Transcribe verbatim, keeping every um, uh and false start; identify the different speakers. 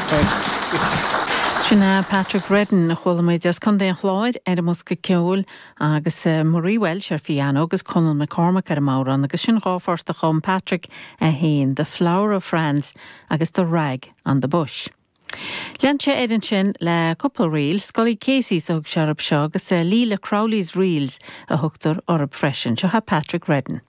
Speaker 1: Thanks.
Speaker 2: Sin é Patrick Redden a chuala muid as Contae an Chláir ar an mbosca ceoil agus uh, Marie Welsh ar piano agus Conall McCormack ar an mbodhrán agus sin dhá phort a chum Patrick a haon, The Flower of France agus The Rag on the Bush. Lean sé air ansin le cúpla ríl, Scully Casey a thug sé orthu seo agus uh, Leela Crowley's Reels a thugtar orthu freisin, seo Patrick Redden.